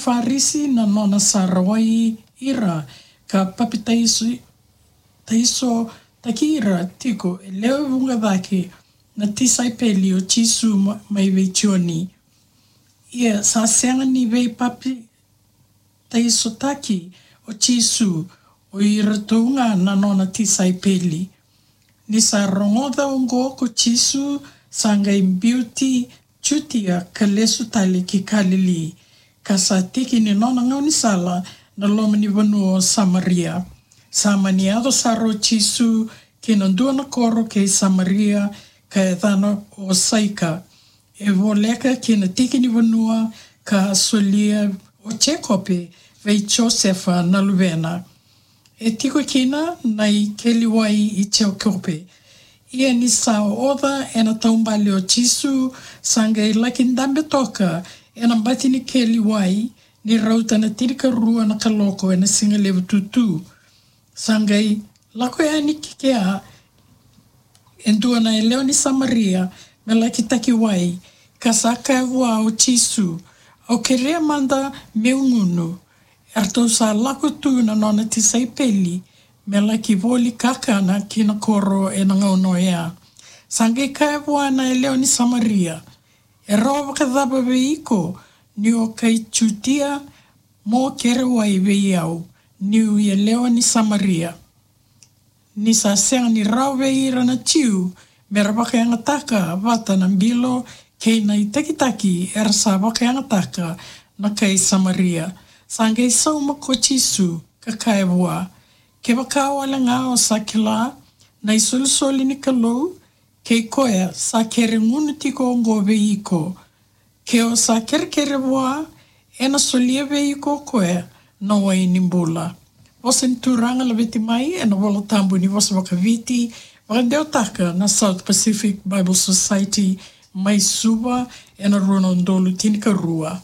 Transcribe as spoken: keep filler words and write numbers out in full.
Farisi na nona sa rawai ira ka papitaiso, taisotaki ira tiko e lewe vuqa cake na tisaipeli o Jisu ma-, mai vei Joni. Ia sa sega ni veipapitaisotaki o Jisu, o iratou ga na nona tisaipeli. Ni sa rogoca oqo ko Jisu, sa qai biuti Jutia ka lesu tale ki Kalili, ka sa tiki ni nona gaunisala na loma ni vanua o Samaria. Sa mani yaco sara o Jisu ki na dua na koro kei Samaria, ka yacana o Saika. E voleka ki na tiki ni vanua ka solia o Jekope vei Josefa na luvena. E tiko kina na ikeli wai i Jekope. Ia ni sa oca ena taubale o Jisu, sa qai laki dabe toka ena bati ni keli wai, ni rauta na tinikarua na kaloko ena siga levu tutu. Sa qai lako yani ki kea e dua na yalewa ni Samaria me laki taki wai, ka sa kaya vua o Jisu, "Au kerea mada meu gunu." Eratou sa lako tu na nona tisaipeli me laki voli kakana ki na koro ena gauna oya. Sa qai kaya vua na yalewa ni Samaria, "E rawa vakacava vei iko, ni o kai Jutia, mo kere wai vei au, niu yalewa ni Samaria?" Ni sa sega ni rawa vei ira na Jiu me ra vakayagataka vata na bilo kei na itakitaki era sa vakayagataka na kai Samaria, sa qai sauma ko Jisu ka kaya vua, "Kevaka wale ga o sa kila na isolisoli ni Kalou, kei koya sa kere gunu tiko oqo vei iko. Ke o sa kerekere vua, ena solia vei iko o koya na wai ni bula." Vosa ni Turaga laveti mai ena Vola Tabu ni vosa vakaViti, vakadewataka na South Pacific Bible Society mai Suva ena rua na udolu tinikarua.